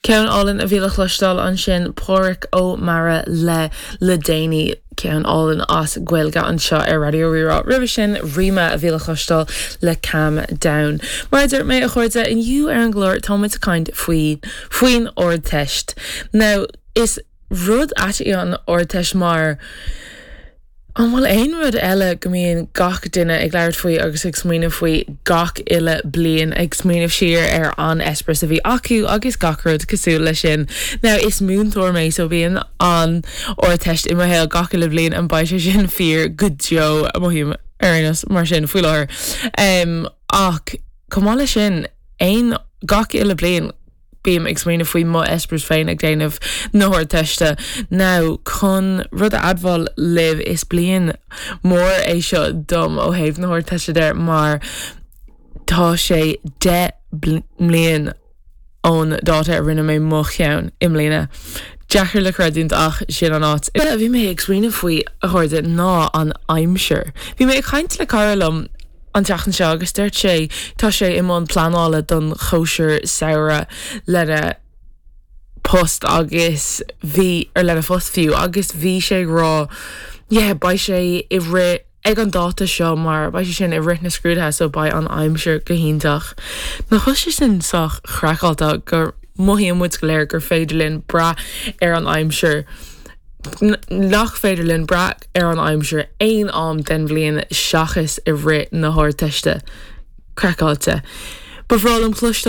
Ceann álainn a bhí le cloisteáil ansin, Pádraic Ó Meara le Le Déanaí, ceann álainn as Gaeilge anseo ar Raidió Rí-Rá. Roimhe sin, Rima a bhí le cloisteáil le Calm Down. Mar a dúirt mé, a chairde, inniu ar an gclár tá muid ag caint faoi faoin Ardteist. Now, is rud ait í an Ardteist mar An bhfuil aon rud eile go mbíonn gach duine ag labhairt faoi agus ag smaoineamh faoi gach uile bliain, ag smaoineamh siar ar an eispéireas a bhí acu agus gach rud cosúil leis sin? Now, is múinteoir mé so bíonn an Ardteist i mo shaol gach uile bhliain and beidh sé sin fíor go deo, mothaím ar aon nós mar sin faoi láthair. Um, ach chomh maith leis sin, aon gach uile bliain, Bím ag smaoineamh faoi mo eispéireas féin ag déanamh na hArdteiste. Now, chun rud a admháil libh, is bliain mór é seo dom ó thaobh na hArdteiste de mar tá sé 10 mbliain ón dáta a rinne mé mo cheann i mbliana. Deacair le creidiúint ach sin an áit. A bhí mé ag smaoineamh faoi, a chairde, ná an aimsir. Bhí mé ag caint le cara liom an tseachtain seo agus dúirt sé tá sé i mbun pleanála don chóisir samhraidh lena post agus bhí, ar lena phost fiú, agus bhí sé ag rá yeah beidh sé i rith ag an dáta seo mar beidh sé sin i rith na scrúduithe so beidh an aimsir go hiontach. Nach bhfuil sé sin sách craiceáilte go mothaíonn muid go léir gur féidir linn brath ar an aimsir nach féidir linn brath ar an aimsir aon am den bhliain seachas i rith na hArdteiste. Craiceáilte. Ba bhreá liom cloisteáil.